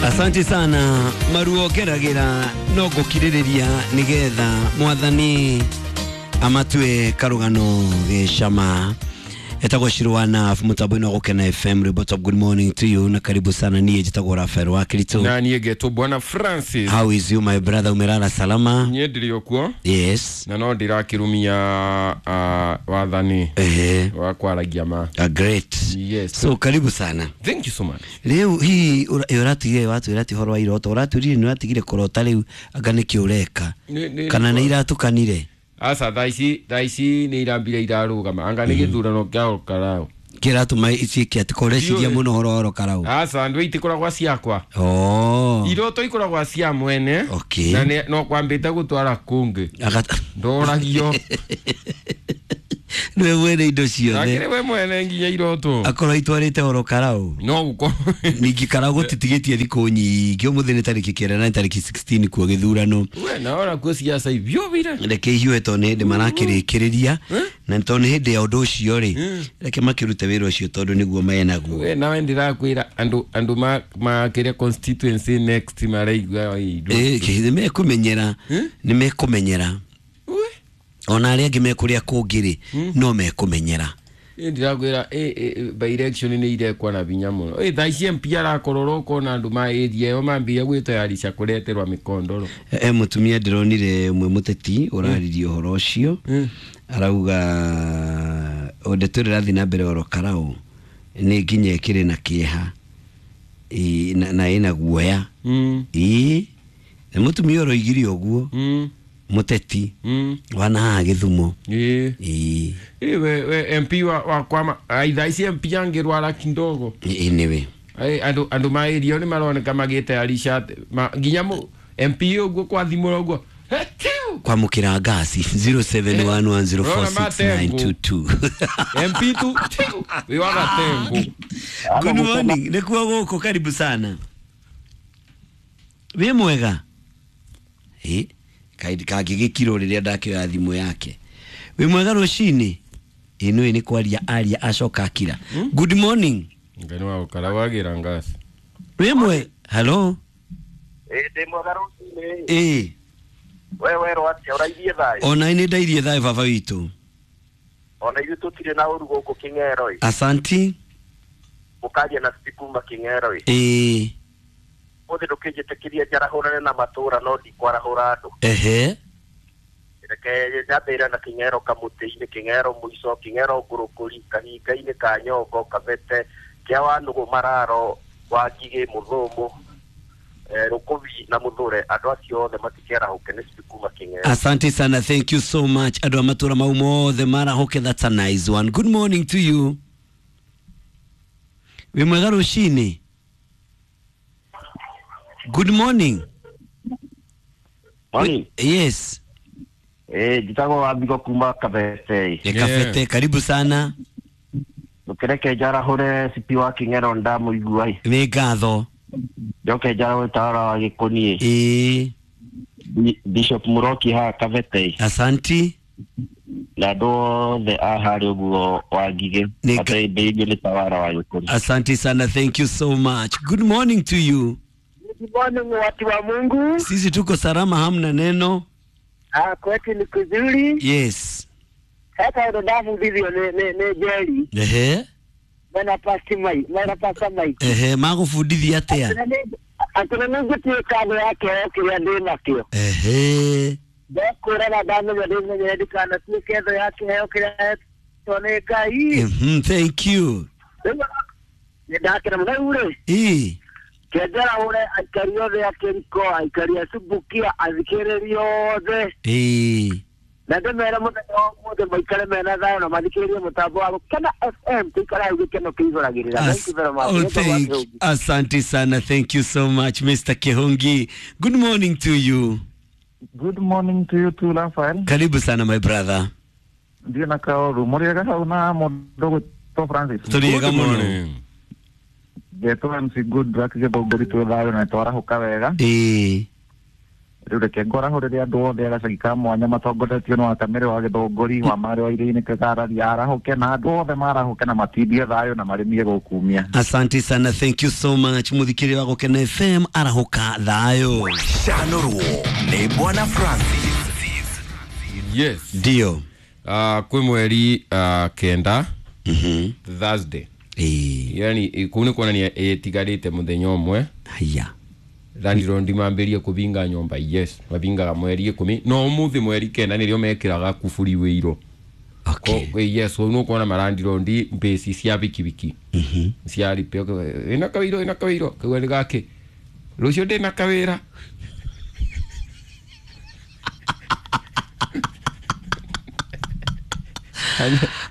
Asante sana maruo ngeragira no ngukiririria nigetha mwathani amatue karugano gicama. Etagwo Shirwana mutambo-inĩ wa Gũkena FM. Ribot of good morning to you na karibu sana. Niĩ njĩtagwo Rafael wa Kirito. Na niĩ ngetwo Bwana Francis. How is you, my brother? Umelala salama? Niĩ ndĩrĩ o kuo. Yes. Na no ndĩrakĩrumia wathani Ehe. wa kwaragia ma. Great. Yes. So karibu sana. Thank you so much. Rĩu hihi ũratigire watwĩra atĩ ũhoro wa iroto ũratwĩrire nĩ ũratigire kũrota rĩu anga nĩkĩ ũreka kana nĩ iratukanire? Aca, thaa ici nĩ irambire irarũgama, anga nĩ gĩthurano kĩa Olkarau. Kĩratũma ituĩke atĩ koreciria Ndiũĩ. mũno ũhoro wa Olkarau. Aca, andũ itikoragwa ciakwa. Oh. Iroto ikoragwa cia mwene. Okay. Na no kwambĩte gũtwara kũngĩ. Ndoragio. Nĩwe mwene indo ciothe. Akĩrĩ we mwene nginya iroto. Akorwo itwarĩte Olkarau. No gũkorwo. Ningĩ karau gũtitigĩtie thikũ nyingĩ, ũmũthĩ nĩ tarĩki 9 na nĩ tarĩki 16 kuo gĩthurano. We naona kuo ciaca ibiũbire. Reke ihiũhe tondũ nĩ hĩndĩ marakĩrĩkĩrĩria na tondũ nĩ hĩndĩ ya ũndũ ũcio rĩ, reke makĩrute wĩra ũcio tondũ nĩguo menaguo. We nawe ndĩrakwĩra andũ makĩrĩa constituency next maraigua indo. Nĩ mekũmenyera, nĩ mekũmenyera. Ona arĩa angĩ mekũrĩa kũngĩ rĩ, no mekũmenyera. Ndĩrakwĩra by election nĩ irekwa na vinya mũno. Thaa ici MP arakorora ũkona andũ ma area ĩyo mambia gwĩtayarisha kũreterwa mĩkondoro. E mũtumia ndĩronire ũmwe mũteti ũraririe ũhoro ũcio, arauga o ndeto ĩrĩa ĩrathiĩ na mbere oro karau nĩ nginya ĩkĩrĩ na kĩeha. Ĩ, na ĩna guoya. Ĩ, nĩ mũtumia ũroigire ũguo, mũteti wana haha Gĩthumo. Ĩ. Ĩ, we MP wa kwama thaa ici MP angĩrwara kidogo. Ĩ, nĩwe. Andũ ma area nĩ maroneka magĩtayarisha nginya MP ũguo kwathimũra ũguo. Hetiu! Kwamũkĩra ngasi 0711046922. MP tu tiu, wĩ wa gatengo. Good morning, nĩkuo gũkũ, karibu sana. Wĩ mwega? Ĩ, kangĩgĩkirwo rĩrĩa ndakĩoya thimũ yake. Wĩ mwega rũcinĩ? Ĩ, nĩũĩ nĩ kwaria aria acoka akira. Good morning. Ngai nĩ wagũkara wagĩra ngasi. Wĩ mwe? Hello. Ĩ, ndĩ mwega rũcinĩ. Ĩ. We werwo atĩa, ũrairie thayũ? Ona nĩ ndairie thayũ, baba witũ. Ona ithuĩ tũtirĩ na ũru gũkũ Kĩng'ero ĩ. Asanti. Mũkaria na City kuma Kĩng'ero ĩ. Ĩ. Ũmũthĩ ndũkĩnjĩtĩkĩrie njarahũrane na matũra no ndikwarahũra andũ. Reke nyambĩrĩre na Kĩng'ero kamũtĩ-inĩ, Kĩng'ero mũico, Kĩng'ero ngũrũkũri, kahinga-inĩ ka Nyongo, Kabete, kĩa Wanũgũ, Mararo, Wangigĩ, Mũthũmũ, Rũkũbi na Mũthũre, andũ acio othe matikerahũke, nĩ City kuma Kĩng'ero. Asante sana, thank you so much. Andũ a matũra mau mothe marahũke, that's a nice one. Good morning to you. Wĩ mwega rũcinĩ? Good morning. Morning. Yes. Njĩtagwo Wambigũ kuma Kabete. Nĩ Kabete, karibu sana. Ndũkĩreke njarahũre CP wa Kĩng'ero ndamũigua ĩ. Nĩ ngatho. Njoke njarahũre tawara wa Gĩkũniĩ. Ĩĩ. Bishop Muroki haha Kabete. Asanti. Na andũ othe a harĩa ũguo wa Ngigĩ. Ateithĩrĩrio nĩ tawara wa Gĩkũni. Asante sana, thank you so much. Good morning to you. Good morning, watu wa Mungu. Sisi tuko salama, hamna neno. Ah, kwetu ni kuzuri. Yes. Sasa ndafundithio nĩ Njeri. Mena pasi mai, mena pasa mai. Ehe, magũbundithia atĩa? Atĩ nĩ ngũtuĩka thũ ya kĩheo kĩrĩa ndĩ nakĩo. Ndekwĩraga ndamenya ndĩmenyere ndikanatuĩke thũ ya kĩheo kĩrĩa hetwo nĩ Ngai. Thank you. Rĩu nĩ ndakena mũno rĩu rĩ. Ĩ. Kĩenjera ũre aikari othe a Kĩriko, aikari a Subukia, athikĩrĩria othe. Na ndĩmere mũthenya wa ũmũthĩ maikare mena thayũ na mathikĩrĩrie mũtambo wa Gũkena FM, tũikare hau gĩkeno kĩihũragĩrĩra. Thank you very much. Oh, thank, asante sana, thank you so much, Mr. Kihungi. Good morning to you. Good morning to you too, Rafael. Karibu sana, my brother. Ndiĩ na kaũru mũrĩega hau na mũndũ gwĩtwo Francis. Tũrĩega mũno. Ngetwo MC Good Luck Gĩthũngũri, twĩ thayũ na twarahũka wega. Ĩĩ. Rĩu reke ngwarahũrĩre andũ othe agacagi ka mwanya matongoretio nĩ wakamere wa gĩthũngũri wa marĩ wa iria-inĩ kĩgararia arahũke na andũ othe marahũke na matindie thayũ na marĩmie gũkumia. Asante sana, thank you so much muthikiri wa Gukena FM, arahuka thayo. Canũrwo nĩ Bwana Francis. Yes. Ndio. Kwĩ mweri 9 Thursday. Yani kuu nĩ kuonania ĩtigarĩte mũthenya ũmwe. Haya. Landlord mambĩrie kũbinga nyũmba. Yes, mabingaga mweri 10 no ũmũthĩ mweri 9 nĩrĩo mekĩraga kuburi wĩiro. Okay. Yes, ũguo nĩũkuona malandirondi mbĩci cia bikibiki cia ripe ĩna kawĩro ĩna kawĩro kau nĩ gakĩ rũciũ ndĩna kawĩra.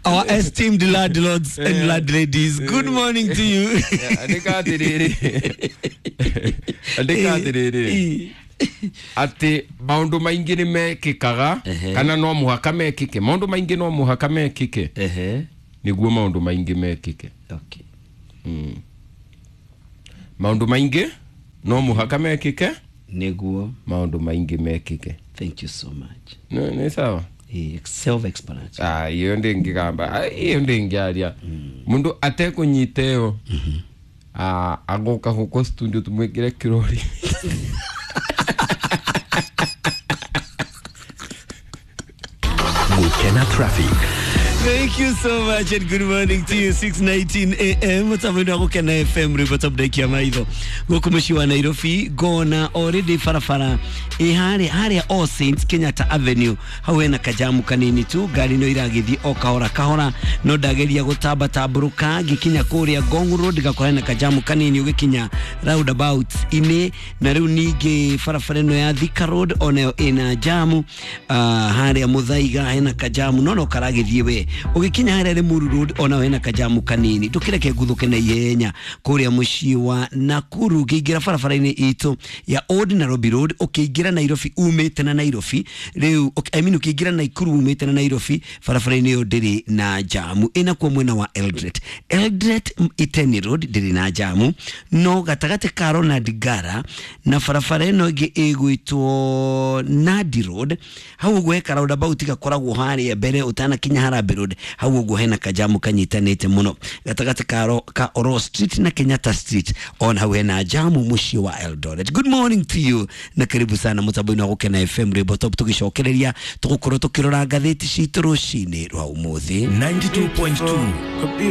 Our esteemed landlords and landladies, good morning to you. Andĩka atĩrĩrĩ, andĩka atĩrĩrĩ atĩ maũndũ maingĩ nĩ mekĩkaga kana no mũhaka mekĩke. Maũndũ maingĩ no mũhaka mekĩke nĩguo maũndũ maingĩ mekĩke. Okay. Maũndũ maingĩ no mũhaka mekĩke nĩguo maũndũ maingĩ mekĩke. Thank you so much. Nĩ sawa. Self-explanatory. Iyo ndĩngĩgamba, iyo ndĩngĩaria mũndũ atekũnyita ĩyo agoka gũkũ studio tũmwĩkĩre kĩrori. Gukena traffic. Thank you so much and good morning to you. 6:19 a.m. Mutambo wa Gukena FM ribota mdaiki maitho guku muciĩ wa Nairobi ngona already barabara ĩ harĩa All Saints Kenyatta Avenue hau hena kajamu kanini tu, ngari no iragĩthiĩ o kahora kahora, no ndageria gũtamba tambũrũka ngĩkinya kũrĩa Ngong Road ngakora hena kajamu kanini ũgĩkinya roundabout inĩ, na rĩu ningĩ barabara ĩno ya Thika Road onayo ĩna jamu. Harĩa Muthaiga hena kajamu no karagĩthiĩ we ũgĩkinya harĩa Limuru Road ona hena kajamu kanini. Ndũkĩreke nguthuke na ihenya kũrĩa mũciĩ wa Nakuru ũkĩingĩra barabara-inĩ itũ ya Old Nairobi Road ũkĩingĩra Nairobi umĩte na Nairobi rĩu, I mean ũkĩingĩra Nakuru umĩte na Nairobi barabara-inĩ ĩyo ndĩrĩ na jamu. Ĩnakuo mwena wa Eldoret, Eldoret Iten Road ndĩrĩ na jamu, no gatagatĩ ka Ronald Ngara na barabara ĩno ĩngĩ ĩgwĩtwo Nandi Road hau ũguo heka roundabout gakoragwo harĩa mbere ũtanakinya Harambee Road hau ũguo hena kajamu kanyitanĩte mũno gatagatĩ ka Oro Street na Kenyatta Street ona hau hena jamu mũciĩ wa Eldoret. Good morning to you na karibu sana mũtambo-inĩ wa Gukena FM rwĩmbo top tũgĩcokereria tũgũkorwo tũkĩrora ngathĩti citũ rũcinĩ rwa ũmũthĩ. 92.2